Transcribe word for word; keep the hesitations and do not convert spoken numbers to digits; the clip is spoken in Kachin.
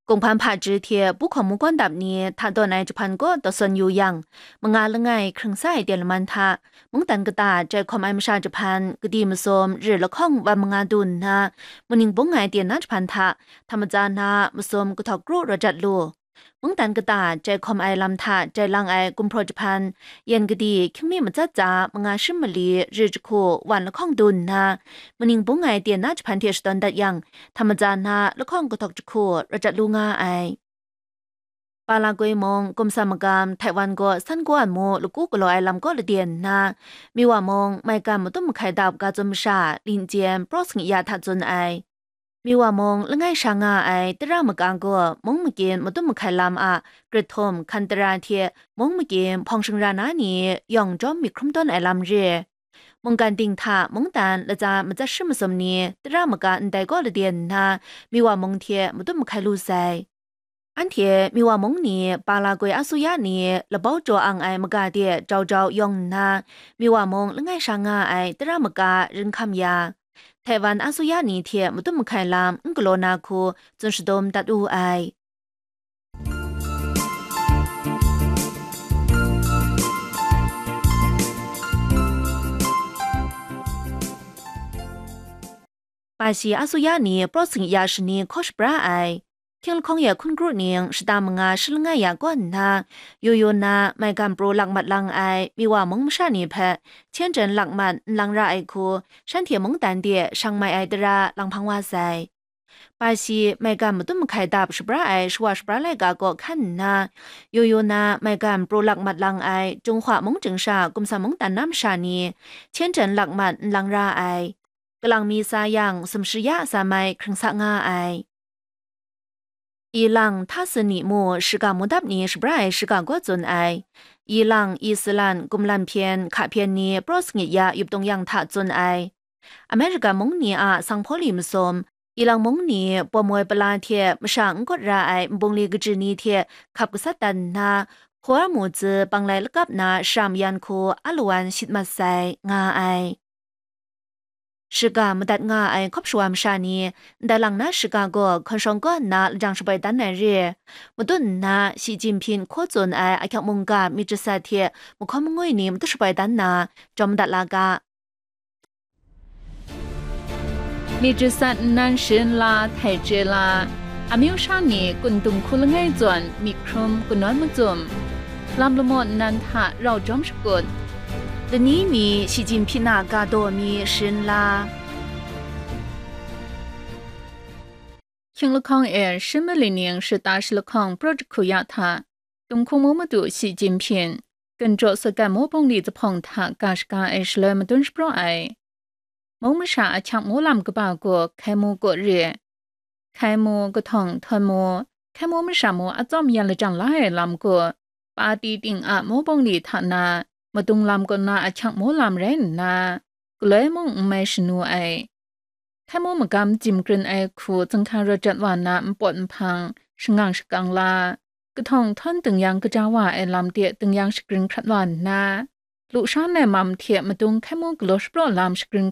Kunghpan hpaji hte pu hkawm mu gawn dap ni hta dawn ai jahpan kaw taw sawn yu yang, manga langai hkring sa ai ten laman hta, mungdan kata jai hkawm ai masha jahpan, kadi masum ri lahkawng wan manga du nna, muning bung ai ten na jahpan hta, hta matsa na masum kahtawk kru rawt jat lu. Mungdan kata jai hkawm ai lam hta jai lang ai gumhpraw jahpan, yan kadi hkying mi matsat tsa manga shim mali ri jahku wan lahkawng du nna, muning bung ai ten na jahpan hte shadawn dat yang, hta matsa na lahkawng kahtawk jahku rawt jat lu nga ai. Palagoi mung, Kumsa magam, Taiwan gaw san kawan mu laku galaw ai lam kaw laden nna, Miwa mung, maigan madum mahkai dap ga tsun masha, linjen, praw sangya hta tsun ai. Miwa mung, langai sha nga ai tara maka gaw, mung makin madum mahkai lam a grit htum hkan tara hte mung makin hpawng shingra na ni yawng jawm myit hkrum tawn ai lam re. Mungkan ting hta mungdan latsa matsat shi masum ni tara maka ndai kaw laden nna, Miwa mung hte madum mahkai lu sai. Anhte Miwa mung ni Palagoi asuya ni labau jaw ang ai maga de jau jau yawng nna, Miwa mung langai sha nga ai tara maka rin hkam ya, Taiwan asuya ni hte madum mahkai lam n galaw na hku tsun shadum dat wu ai. Pashi asuya ni praw sangya shani hkaw shabra ai. Hkying lahkawng ya hkun kru ning shata manga shi langai ya kaw nna, yu yu na maigan pru lak mat lang ai Miwa mung masha ni hpe hten jen lak mat n lang ra ai hku, shanhte mungdan de shang mai ai tara lang hpang wa sai. Pashi maigan madum mahkai dap shabra ai shawa shabra laika kaw hkan nna, yu yu na maigan pru lak mat lang ai Jinghwa mung chyingsha Kumsa mungdan na masha ni hten jen lak mat n lang ra ai. Kalang mi sa yang, sumshi ya sa mai hkring sa nga ai. Ilang, Hta Sini mu shiga mudap ni shabra ai shiga gaw tsun ai. Ilang, Isilan, Gumlan hpyen, Hka hpyen ni praw sangit ya yup tung yang hta tsun ai. Amerika mung ni a sanghpaw li masum, Ilang mung ni pawm woi pala hte masha n kawt ra ai nbungli kaji ni hte hkap gasat dan nna, Hkawar mu tsi panglai lakap na shara mayan hku alawan shit mat sai, nga ai. Shiga madat nga ai hkawp shawa masha ni, ndai lang na shiga gaw hkawn shawng kaw nna lajang shabai dan ai re. Matut nna, Shi Jinhping hkaw tsun ai ahkyak mungga myit jasat hte mahkawn mangwi ni matut shabai dan na, jawm madat la ga. มีจิตสัตว์นั้น shrin la, htai chye la, amyu sha ni kun dung hku langai zawn myit hkrum kanawn macum, lam lamaw nnan hta rau jawm shakut. Lani mi Shi Jinhping a ga daw mi shrin la. Hkying lahkawng e, shim mali ning shata shi lahkawng praw jahku ya hta, Tumhkung mu madu Shi Jinhping, Ginjaw Sutgan mu bungli zahpawng hta ga shaga ai shaloi madun shapraw ai. Mung masha ahkyak mu lam kaba gaw hkai mu kaw re. Hkai mu, kahtawng htawn mu, hkai mu masha mu atsawm yan lajang la ai lam gaw, pati ting a mu bungli hta na, madung lam kaw na ahkyak mu lam rai nna, galoi mung n mai shanu ai. Hkai mu magam jim krin ai hku zinghka rawt jat wa na npawt nhpang, shangang shakang la, kahtawng htawn dingyang kaja wa ai lam de dingyang shagrin hkrat wa nna, lusha nai mam hte madung hkai mu galaw shapraw lam shagrin